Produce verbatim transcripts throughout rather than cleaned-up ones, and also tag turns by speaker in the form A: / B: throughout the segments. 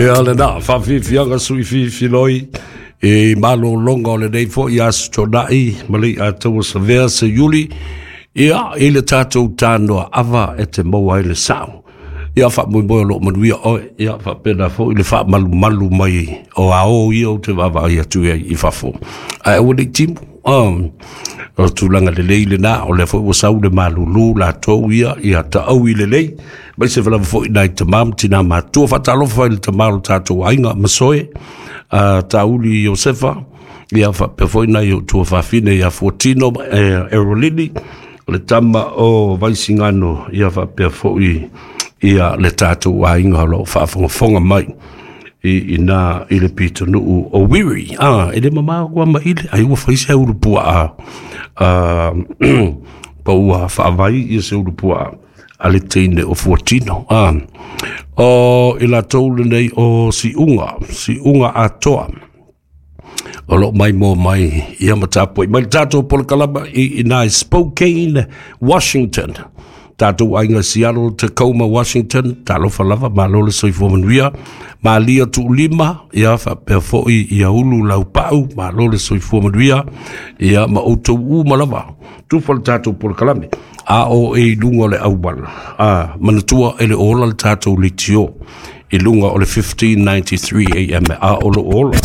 A: Ia lena, faafiafiaga suifiifiloi i malologa o lenei fo'i aso Tona'i ma le iataua savea se Iuli, ia i le tatou tanoa ava e te maua ai le sa'o. Ia faamoemoe o loo manuia oe, ia faapena fo'i le faamalumalu mai o ao ia ou te vaavaai atu ai i fafo. Ae aua nei timu, um, o tulaga lelei lena, o lea foi ua sau le malulu latou ia, ia taau i lelei, mai se lava foi nai tamā ma tinā matua. Faatalofa i le tamā o le tatou aiga Masoe, uh, Tauli Iosefa, ia faapea foi nai o tua fafine ia Fuatino, eh, Erolini, o le tama o Vaisigano, ia faapea foi ia le tatou aiga o loo faafogafoga mai i ina i le pitonuu o Wiri. Ah, e le mamao kua ma ile, ai ua fai se ulu puaa, ah, pa ua faavai ia se ulu puaa a le teine o Fuatino. Ah, o i latou lenei o Siuga, Siuga atoa, o loo mai mo mai ia ma tapuai mai le tatou polokalama i ina i Spokane, Washington. Tatou aiga Seattle, Tacoma, Washington, talofa lava, malo le soifua manuia. Malia Tuulima, ia faapea foi ia Ulu Laupau, malo le soifua manuia, ia ma outou uma lava. Tufa le tatou polokalame, a o e i luga o le auala. A, manatua e le ola le tatou leitio i luga o le fifteen ninety-three A M, a o lo ola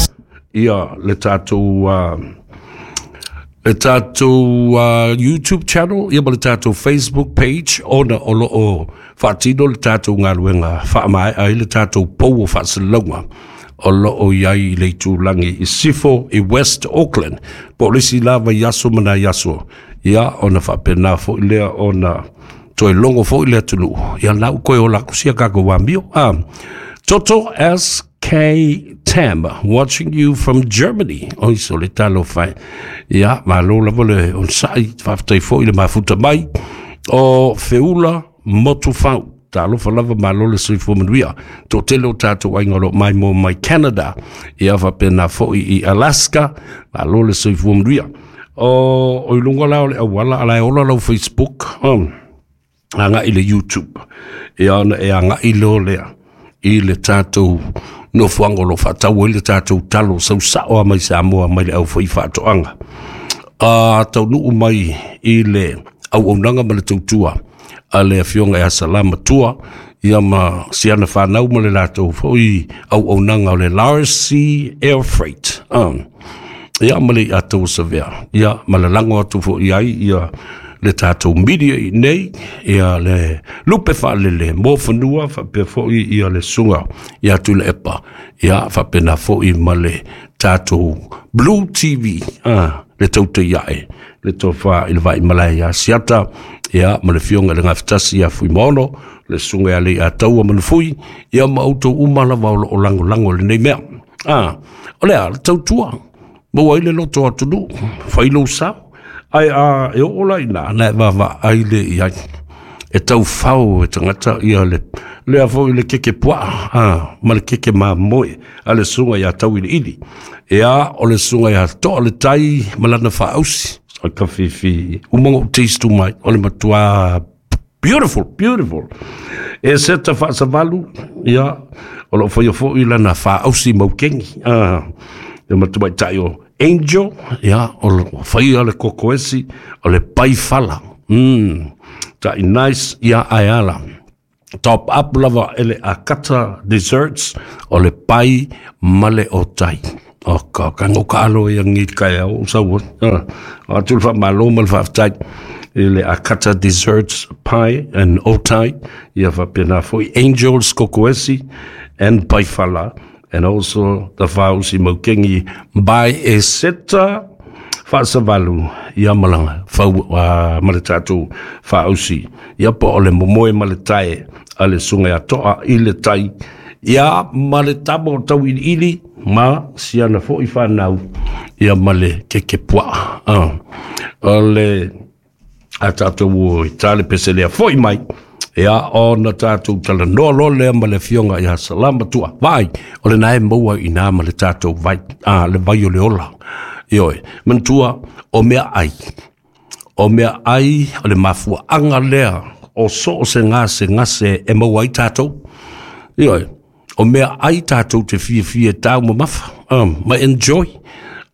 A: ia le tatou uh, le tatou uh, YouTube channel, ia ma le tatou Facebook page, ona o lo o faatino le tatou galuega faamaea ai le tatou pou o faasalalauga o lo o i ai i le itulagi i Sifo i West Auckland. Po o le isi lava i aso ma nai aso, ia ona faapena foi lea ona toe logo foi le atunuu. Ia lau koe o la kusia kako amio. Ah, Toto S K Tam, watching you from Germany. Oi so le talo fai. Ia, malo lava le onsai, faafetai foi le mafuta mai. O Feula Motufau, talofa lava, malo le soifua manuia. Toatele o tatou aiga o loo mai mo mai Canada. Ia faapena foi i Alaska, malo le soifua manuia. O, o i luga la o le auala, ala e ola lau Facebook, um, agai le YouTube. Ia ona e agai leo lea i le tatou nofoaga o lo faatau ai le tatou talo sausao a mai Samoa mai le au foi faatoaga. A taunuu mai i le auaunaga ma le tautua a le afioga ia Salama Tua, ia ma siana whanau ma le latou foi auaunaga o le Larcy Air Freight. Um, ia ma le atou savea. Ia ma le lango atu foi ai ia le tatou media i nei, ia le lupe whaalele, mō whanua, whapea foi ia le sunga, ia tu le epa, ia whapena foi ma le tatou Blue T V, ah, le taute iae, le tofa i le vai malai ia siata, ia ma le fionga le ngafetasi ia Fuimono, le sunga ia le ia taua manufui, ia ma autou uma lava o lo o lango lango le nei mea. Ah, o lea, le tautua, maua i le loto atunu, whailou sao, ai a e o la ina na va ai le ia e tau fau e tangata ia le le afo i le keke pua a ma le keke ma moe a le sunga ia tau ili ili e a o le sunga ia to le tai malana fa ausi o ka fifi umongo taste mai o le matua beautiful beautiful e seta fa savalu ia o lo fo fo i lana fa ausi maukengi a e matua tai o Angel, ia, o le whaia le kokoesi, o le paifala. Mm, tai nice, ia aiala. Top up lava ele akata desserts, o le pai male o tai. O ka, ka ngoka alo ia ngi kai au, sau, ah, a tu fa malo mal fa tai. Ele akata desserts pie and otai, ia fa pena foi Angels kokoesi and paifala. And also the whausi maukengi by Eseta Faasavalu ia malanga whau uh, male tātou whausi ia po o le momoe male tae a le sunga ia toa i le tai ia male tamo tau ili ili ma siana foi whanau ia male keke pua uh. O le a tātou o i tale peselea foi mai ia ona tātou tala noa loa lea ma le fionga ia Salama Tua. Vai, o le nae maua i nā ma le tātou vai, a, le vai o le ola. Ioe, mantua, o mea ai. O mea ai, o le mafua anga lea, o so o se ngase ngase e maua ai tātou. Ioe, O meaai tatou te fiafia e taumamafa um, ma enjoy.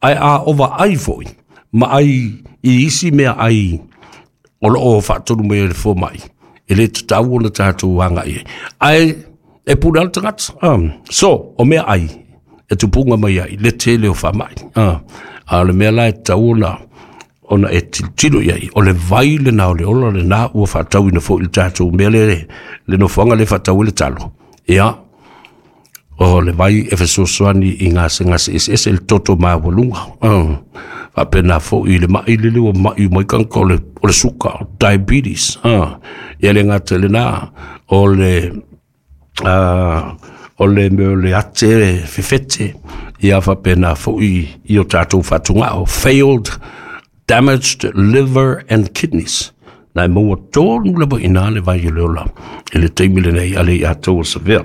A: Ae a ovaai foi ma ai i isi meaai o loo faatonu mai e le fomai, e lē tatau ona tatou agai ai, ae e pule a le tagata um, So o meaai e tupuga mai ai le tele o faamai uh, a o le mea la e tatau ona ona e tilotilo i ai, o le vai lena o le ola lena ua faatauina foi le tatou mea le le nofoaga le faatau ai le talo. Ia, o le vai e fesoasoani i gasegase eseese, le toto maualuga, uh, faapena foi i le mai lele ua mai mai tagata o le, o le suka, diabetes. uh, ia le gata i lena, o le uh, o le mea o le ate fefete, ia faapena foi i o tatou fatugao, failed, damaged liver and kidneys, na e maua tonu lava i nā le vai o le ola i le taimi lenei a le ia tou o Savea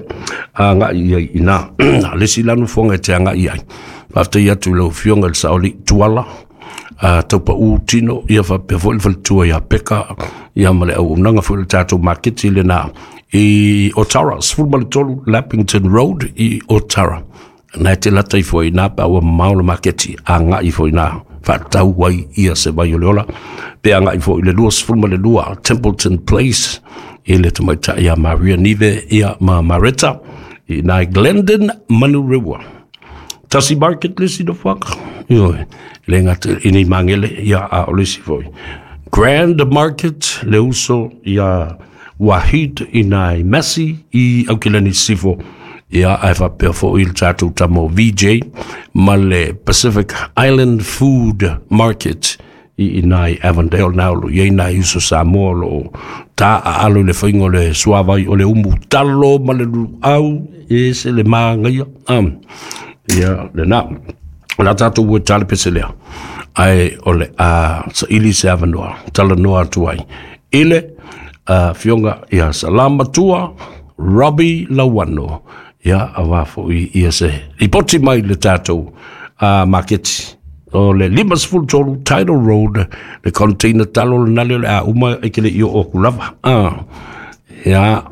A: agai i ai i nā le isi la nofoaga e te agai ai. Faafetai atu i lau Afioga i le Saoli Tuala a taupaū tino, ia faapea foi le faletua ia Peka, ia ma le auaunaga foi le tatou maketi lena i Otara, sefulu ma le tolu Lappington Road i Otara. Na e te lata ifo i nā pe ua mamao le maketi, agai ifo i nā faatau ai ia se vai o le ola, pe agai ifo i le lua sefulu ma le lua Templeton Place i le tamaitai ia Maria Nive ia ma Mareta i nai Glendon Manurewa. Tasi Market le isi nofoaga. Ioe, le gata i nei magele ia a o le isi foi. Grand Market le uso ia Wahid i nai Messi i Aukilani Sifo. Ia ae faapea foi le tatou tamo V J ma le Pacific Island Food Market i i nai Avondale na o lo i ai nai uso Samoa o loo ta aalo i le faiga o le suavai o le umu talo ma le luau e se le magaia. Um, ia lena o la tatou ua tale pese lea, ae o le a saili se avanoa talanoa atu ai i le afioga ia Salamatua Robbie Lauano, ia aua foi ia se lipoti mai le tatou uh, maketi o le lima sefulu tolu Tidal Road, le container talo lena le o le a uma e ke le i o ku lava. Ah, ia.